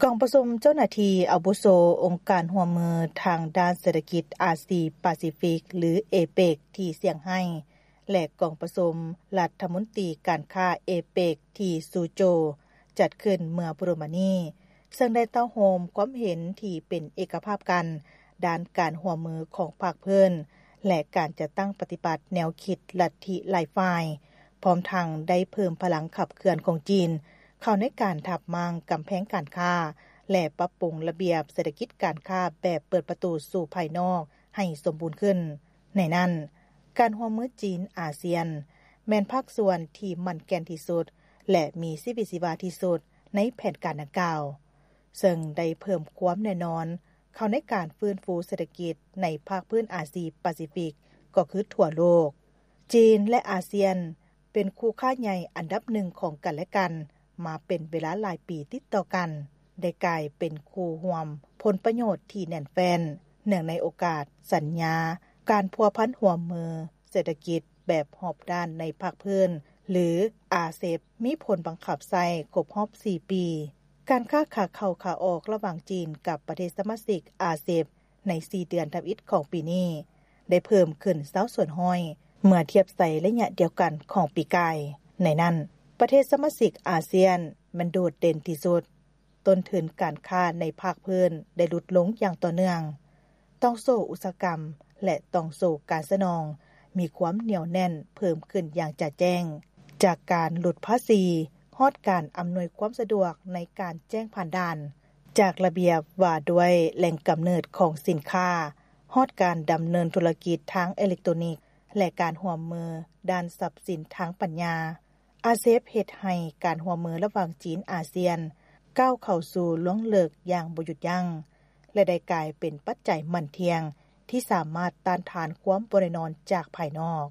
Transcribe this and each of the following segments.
ກອງປະຊຸມເຈົ້າໜ້າທີ່ອາວຸໂສອົງການຮ່ວມມືທາງດ້ານເສດຖະກິດອາຊີປາຊີຟິກ ຫຼື ເອເປກ ທີ່ຊຽງໄຮ້ ແລະ ກອງປະຊຸມລັດຖະມົນຕີການຄ້າເອເປກ ທີ່ຊູໂຈ ຈັດຂຶ້ນເມື່ອບໍ່ດົນມານີ້ ເຊິ່ງໄດ້ເຕົ້າໂຮມຄວາມເຫັນທີ່ເປັນເອກະພາບກັນ ດ້ານການຮ່ວມມືຂອງພາກພື້ນ ແລະ ການຈັດຕັ້ງປະຕິບັດແນວຄິດລັດທິຫຼາຍຝ່າຍ, ພ້ອມທັງໄດ້ເພີ່ມພະລັງຂັບເຄື່ອນຂອງຈີນ ເຂົ້າໃນການທັບມ້າງກຳແພງການຄ້າ ແລະ ປັບປຸງລະບຽບເສດຖະກິດການຄ້າແບບເປີດປະຕູສູ່ພາຍນອກໃຫ້ສົມບູນຂຶ້ນ. ໃນນັ້ນ, ການຮ່ວມມືຈີນ-ອາຊຽນ ແມ່ນພາກສ່ວນທີ່ໝັ້ນແກ່ນທີ່ສຸດ ແລະ ມີຊີວິດຊີວາທີ່ສຸດໃນແຜນການດັ່ງກ່າວ, ເຊິ່ງໄດ້ເພີ່ມຄວາມແນ່ນອນເຂົ້າໃນການຟື້ນຟູເສດຖະກິດໃນພາກພື້ນອາຊີປາຊີຟິກ ກໍຄືທົ່ວໂລກ. ຈີນ ແລະ ອາຊຽນ ເປັນຄູ່ຄ້າໃຫຍ່ອັນດັບໜຶ່ງຂອງກັນແລະກັນມາເປັນເວລາຫຼາຍປີຕິດຕໍ່ກັນ, ໄດ້ກາຍເປັນຄູ່ຮ່ວມຜົນປະໂຫຍດທີ່ແໜ້ນແຟ້ນ ເນື່ອງໃນໂອກາດສັນຍາການພົວພັນຮ່ວມມືເສດຖະກິດແບບຮອບດ້ານໃນພາກພື້ນ ຫຼື ອາເຊັບ ມີຜົນບັງຄັບໃຊ້ຄົບຮອບສີ່ປີ. ການຄ້າຂາເຂົ້າຂາອອກລະຫວ່າງຈີນກັບປະເທດສະມາຊິກອາເຊັບ ໃນສີ່ເດືອນທຳອິດຂອງປີນີ້ ໄດ້ເພີ່ມຂຶ້ນຊາວສ່ວນຮ້ອຍ ເມື່ອທຽບໃສ່ໄລຍະດຽວກັນຂອງປີກາຍ. ໃນນັ້ນ, ປະເທດສະມາຊິກອາຊຽນແມ່ນໂດດເດັ່ນທີ່ສຸດ. ຕົ້ນທຶນການຄ້າໃນພາກພື້ນໄດ້ຫຼຸດລົງຢ່າງຕໍ່ເນື່ອງ. ຕ່ອງໂສ້ອຸດສາຫະກຳ ແລະ ຕ່ອງໂສ້ການສະໜອງມີຄວາມໜຽວແໜ້ນເພີ່ມຂຶ້ນຢ່າງຈະແຈ້ງ, ຈາກການຫຼຸດພາສີ ຮອດການອຳນວຍຄວາມສະດວກໃນການແຈ້ງຜ່ານດ່ານ, ຈາກລະບຽບວ່າດ້ວຍແຫຼ່ງກຳເນີດຂອງສິນຄ້າ ຮອດການດຳເນີນທຸລະກິດທາງເອເລັກໂຕນິກ ແລະ ການຮ່ວມມືດ້ານຊັບສິນທາງປັນຍາ. ອາເຊັບເຮັດໃຫ້ການຮ່ວມມືລະຫວ່າງຈີນ-ອາຊຽນ ກ້າວເຂົ້າສູ່ລວງເລິກຢ່າງບໍ່ຢຸດຢັ້ງ ແລະ ໄດ້ກາຍເປັນປັດໄຈໝັ້ນທ່ຽງທີ່ສາມາດຕ້ານທານຄວາມບໍ່ແນ່ນອນຈາກພາຍນອກ.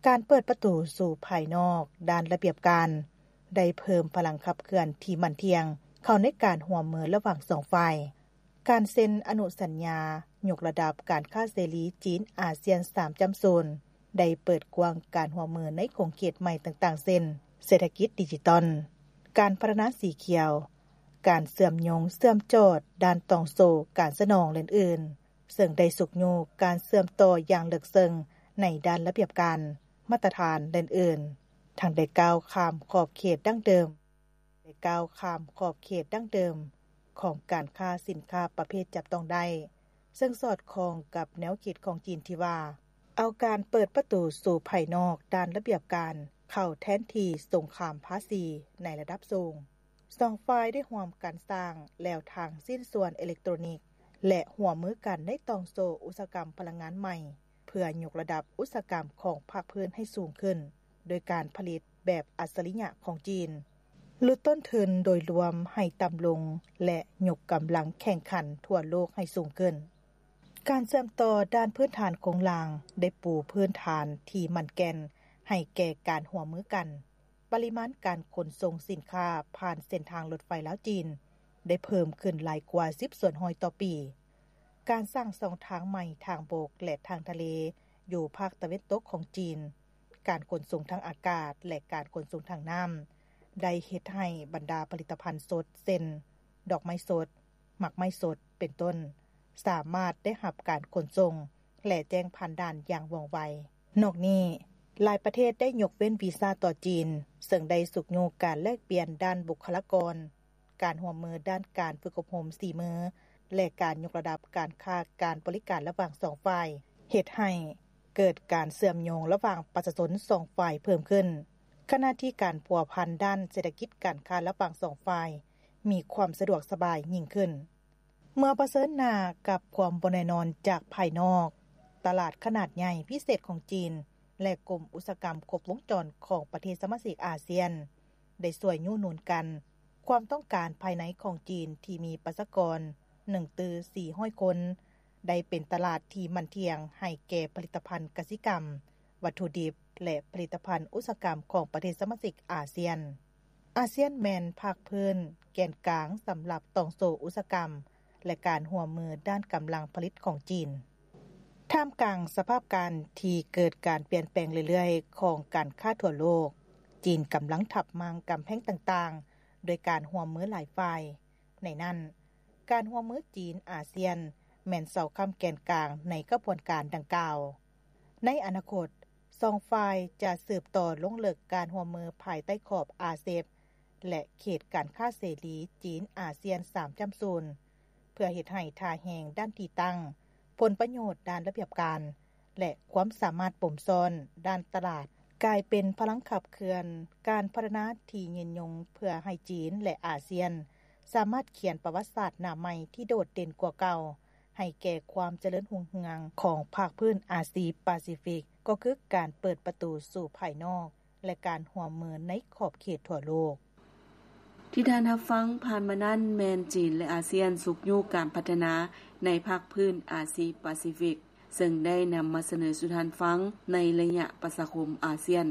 ການເປີດປະຕູສູ່ພາຍນອກດ້ານລະບຽບການ ໄດ້ເພີ່ມພະລັງຂັບເຄື່ອນທີ່ໝັ້ນທ່ຽງເຂົ້າໃນການຮ່ວມມືລະຫວ່າງສອງຝ່າຍ. ການເຊັນອະນຸສັນຍາຍົກລະດັບການຄ້າເສລີຈີນ-ອາຊຽນສາມຈຸດສູນ ໄດ້ເປີດກວ້າງການຮ່ວມມືໃນຂົງເຂດໃໝ່ຕ່າງໆ ເຊັ່ນ ເສດຖະກິດດິຈິຕອນ, ການພັດທະນາສີຂຽວ, ການເຊື່ອມໂຍງເຊື່ອມຈອດດ້ານຕ່ອງໂສ້ການສະໜອງ ແລະ ອື່ນໆ ເຊິ່ງໄດ້ຊຸກຍູ້ການເຊື່ອມຕໍ່ຢ່າງເລິກເຊິ່ງໃນດ້ານລະບຽບການ, ມາດຕະຖານ ແລະ ອື່ນໆ ທັງໄດ້ກ້າວຂ້າມຂອບເຂດດັ້ງເດີມ ໄດ້ກ້າວຂ້າມຂອບເຂດດັ້ງເດີມຂອງການຄ້າສິນຄ້າປະເພດຈັບຕ້ອງໄດ້ ເຊິ່ງສອດຄ່ອງກັບແນວຄິດຂອງຈີນທີ່ວ່າ ເອົາການເປີດປະຕູສູ່ພາຍນອກດ້ານລະບຽບການເຂົ້າແທນທີ່ສົງຄາມພາສີໃນລະດັບສູງ. ສອງຝ່າຍໄດ້ຮ່ວມກັນສ້າງແລວທາງຊິ້ນສ່ວນເອເລັກໂຕຣນິກ ແລະ ຮ່ວມມືກັນໃນຕ່ອງໂສ້ອຸດສາຫະກຳພະລັງງານໃໝ່ ເພື່ອຍົກລະດັບອຸດສາຫະກຳຂອງພາກພື້ນໃຫ້ສູງຂຶ້ນ ໂດຍການຜະລິດແບບອັດສະລິຍະຂອງຈີນ, ຫຼຸດຕົ້ນທຶນໂດຍລວມໃຫ້ຕ່ຳລົງ ແລະ ຍົກກຳລັງແຂ່ງຂັນທົ່ວໂລກໃຫ້ສູງຂຶ້ນ. ການເຊື່ອມຕໍ່ດ້ານພື້ນຖານໂຄງລ່າງໄດ້ປູພື້ນຖານທີ່ໝັ້ນແກ່ນໃຫ້ແກ່ການຮ່ວມມືກັນ. ປະລິມານການຂົນສົ່ງສິນຄ້າຜ່ານເສັ້ນທາງລົດໄຟລາວ-ຈີນ ໄດ້ເພີ່ມຂຶ້ນຫຼາຍກວ່າສິບສ່ວນຮ້ອຍຕໍ່ປີ. ການສ້າງຊ່ອງທາງໃໝ່ທາງບົກ ແລະ ທາງທະເລຢູ່ພາກຕາເວັນຕົກຂອງຈີນ, ການຂົນສົ່ງທາງອາກາດ ແລະ ການຂົນສົ່ງທາງນ້ຳ ໄດ້ເຮັດໃຫ້ບັນດາຜະລິດຕະພັນສົດ ເຊັ່ນ ດອກໄມ້ສົດ, ໝາກໄມ້ສົດ ເປັນຕົ້ນ ສາມາດໄດ້ຮັບການຂົນສົ່ງ ແລະ ແຈ້ງຜ່ານດ່ານຢ່າງວ່ອງໄວ. ນອກນີ້, ຫຼາຍປະເທດໄດ້ຍົກເວັ້ນວີຊາຕໍ່ຈີນ, ເຊິ່ງໄດ້ຊຸກຍູ້ການແລກປ່ຽນດ້ານບຸກຄະລາກອນ, ການຮ່ວມມືດ້ານການຝຶກອົບຮົມສີມື ແລະ ການຍົກລະດັບການຄ້າການບໍລິການລະຫວ່າງສອງຝ່າຍ, ເຮັດໃຫ້ເກີດການເຊື່ອມໂຍງລະຫວ່າງປະຊາຊົນສອງຝ່າຍເພີ່ມຂຶ້ນ, ຂະນະທີ່ການພົວພັນດ້ານເສດຖະກິດການຄ້າລະຫວ່າງສອງຝ່າຍມີຄວາມສະດວກສະບາຍຍິ່ງຂຶ້ນ. ເມື່ອປະເຊີນໜ້າກັບຄວາມບໍ່ແນ່ນອນຈາກພາຍນອກ, ຕະຫຼາດຂະໜາດໃຫຍ່ພິເສດຂອງຈີນ ແລະ ກົມອຸດສາຫະກຳຄົບວົງຈອນຂອງປະເທດສະມາຊິກອາຊຽນ ໄດ້ຊ່ວຍຍູ້ໜູນກັນຄວາມຕ້ອງການພາຍໃນຂອງຈີນທີ່ມີປະຊາກອນໜຶ່ງຕື້ສີ່ຮ້ອຍຄົນ ໄດ້ເປັນຕະຫຼາດທີ່ໝັ້ນທ່ຽງໃຫ້ແກ່ຜະລິດຕະພັນກະສິກຳ, ວັດຖຸດິບ ແລະ ຜະລິດຕະພັນອຸດສາຫະກຳຂອງປະເທດສະມາຊິກອາຊຽນ. ອາຊຽນແມ່ນພາກພື້ນແກ່ນກາງສຳລັບຕ່ອງໂສ້ອຸດສາຫະກຳ ແລະ ການຮ່ວມມືດ້ານກຳລັງຜະລິດຂອງຈີນ. ທ່າມກາງສະພາບການທີ່ເກີດການປ່ຽນແປງເລື້ອຍໆຂອງການຄ້າທົ່ວໂລກ, ຈີນກຳລັງທັບມ້າງກຳແພງຕ່າງໆ ດ້ວຍການຮ່ວມມືຫຼາຍຝ່າຍ, ໃນນັ້ນ ການຮ່ວມມືຈີນ-ອາຊຽນ ແມ່ນເສົາຄ້ຳແກ່ນກາງໃນຂະບວນການດັ່ງກ່າວ. ໃນອະນາຄົດ, ສອງຝ່າຍຈະສືບຕໍ່ລົງເລິກການຮ່ວມມືພາຍໃຕ້ຂອບ RCEP ແລະ ເຂດການຄ້າເສລີຈີນ-ອາຊຽນ ສາມຈຸດສູນ ເພື່ອເຮັດໃຫ້ທ່າແຮງດ້ານທີ່ຕັ້ງ, ຜົນປະໂຫຍດດ້ານລະບຽບການ ແລະ ຄວາມສາມາດປົມຊ້ອນດ້ານຕະຫຼາດ ກາຍເປັນພະລັງຂັບເຄື່ອນການພັດທະນາທີ່ຍືນຍົງ ເພື່ອໃຫ້ຈີນ ແລະ ອາຊຽນ ສາມາດຂຽນປະຫວັດສາດໜ້າໃໝ່ທີ່ໂດດເດັ່ນກວ່າເກົ່າ ໃຫ້ແກ່ຄວາມຈະເລີນຮຸ່ງເຮືອງຂອງພາກພື້ນອາຊີປາຊີຟິກ, ກໍຄືການເປີດປະຕູສູ່ພາຍນອກ ແລະ ການຮ່ວມມືໃນຂອບເຂດທົ່ວໂລກ. ທີ່ທ່ານຮັບຟັງຜ່ານມານັ້ນ ແມ່ນຈີນ ແລະ ອາຊຽນຊຸກຍູ້ການພັດທະນາໃນພາກພື້ນອາຊີປາຊີຟິກ ເຊິ່ງໄດ້ນຳມາສະເໜີສູ່ທ່ານຟັງໃນໄລຍະປະຊາຄົມອາຊຽນ.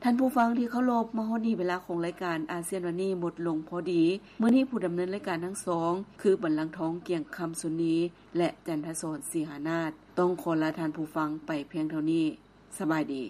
ທ່ານຜູ້ຟັງທີ່ເຄົາລົບ, ມາຮອດນີ້ເວລາຂອງລາຍການອາຊຽນວັນນີ້ໝົດລົງພໍດີ. ມື້ນີ້ຜູ້ດຳເນີນລາຍການທັງສອງ ຄື ບັນລັງທອງ ກຽງຄຳ ຊຸນນີ ແລະ ຈັນທະສອນ ສີຫານາດ ຕ້ອງຂໍລາທ່ານຜູ້ຟັງໄປພຽງເທົ່ານີ້. ສະບາຍດີ.